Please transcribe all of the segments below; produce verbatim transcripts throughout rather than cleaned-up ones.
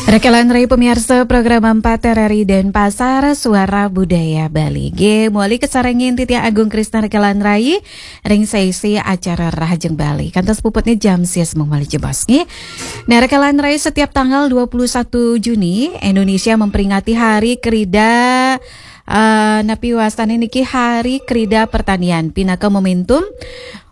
Rekelan rai pemirsa program empat R R I Denpasar, Suara Budaya Bali. Nggih, mawali kasarengin titiang Agung Krisna rekelan rai ring seisi acara Rahajeng Bali. Kantos puputnya jam sia semeng malih jebos nggih. Nah, rekelan rai, setiap tanggal dua puluh satu Juni, Indonesia memperingati Hari Krida, eh, napi wastane niki, Hari Krida Pertanian, pinaka momentum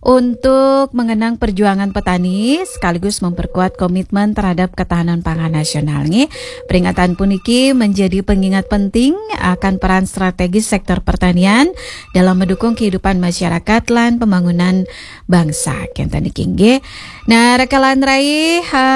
untuk mengenang perjuangan petani sekaligus memperkuat komitmen terhadap ketahanan pangan nasional nggih. Peringatan puniki menjadi pengingat penting akan peran strategis sektor pertanian dalam mendukung kehidupan masyarakat lan pembangunan bangsa. Kenten niki nggih. Nah, rekelan rai, ha,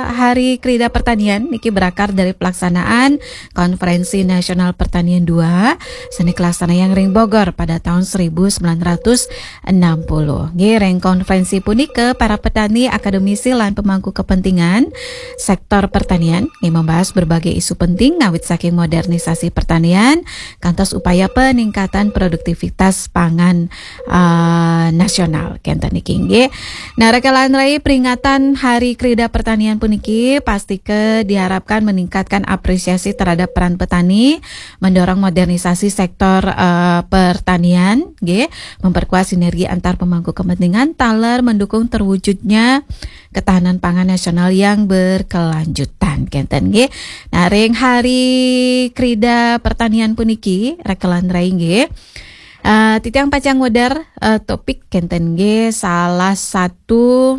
Hari Krida Pertanian niki berakar dari pelaksanaan Konferensi Nasional Pertanian dua sane kalaksanayang ring Bogor pada tahun seribu sembilan ratus enam puluh. Nggih, ring konferensi punika para petani, akademisi, lan pemangku kepentingan sektor pertanian nggih membahas berbagai isu penting ngawit saking modernisasi pertanian kantos upaya peningkatan produktivitas pangan, eh, nasional. Kenten niki nggih. Nah, rekelan rai, peringatan Hari Krida Pertanian puniki pastika diharapkan meningkatkan apresiasi terhadap peran petani, mendorong modernisasi sektor, eh, pertanian, nggih, memperkuat sinergi antar pemangku kepentingan, taler mendukung terwujudnya ketahanan pangan nasional yang berkelanjutan. Kenten nggih. Nah, ring Hari Krida Pertanian puniki, rekelan rai nggih, eh, titiang pacang ngwedar, eh, topik kenten nggih, salah satu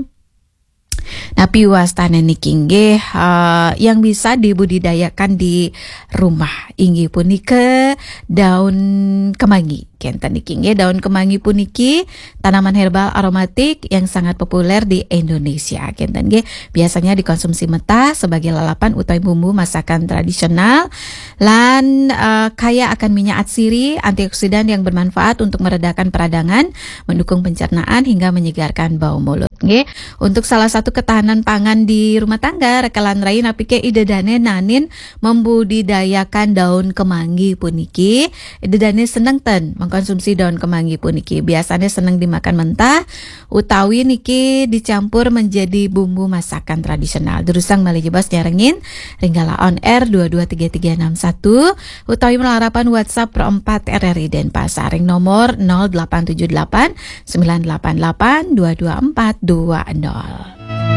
napi wastane niki nggih, eh, yang bisa dibudidayakan di rumah, inggih punika daun kemangi. Kenten niki nggih, daun kemangi puniki tanaman herbal aromatik yang sangat populer di Indonesia. Kenten nggih, biasanya dikonsumsi mentah sebagai lalapan utawi bumbu masakan tradisional lan, eh, kaya akan minyak atsiri, antioksidan yang bermanfaat untuk meredakan peradangan, mendukung pencernaan hingga menyegarkan bau mulut. Nggih, untuk salah satu ketahanan pangan di rumah tangga, rekelan rai, napi ke ida dane nanin membudidayakan daun kemangi puniki? Ida dane seneng ten mengkonsumsi daun kemangi puniki? Biasanya seneng dimakan mentah utawi niki dicampur menjadi bumbu masakan tradisional. Durusang malih jebos nyarengin ring gala on air dua dua tiga tiga enam satu utawi malarapan WhatsApp Pro empat R R I Denpasar ring nomor nol delapan tujuh delapan sembilan delapan delapan dua dua empat dua nol.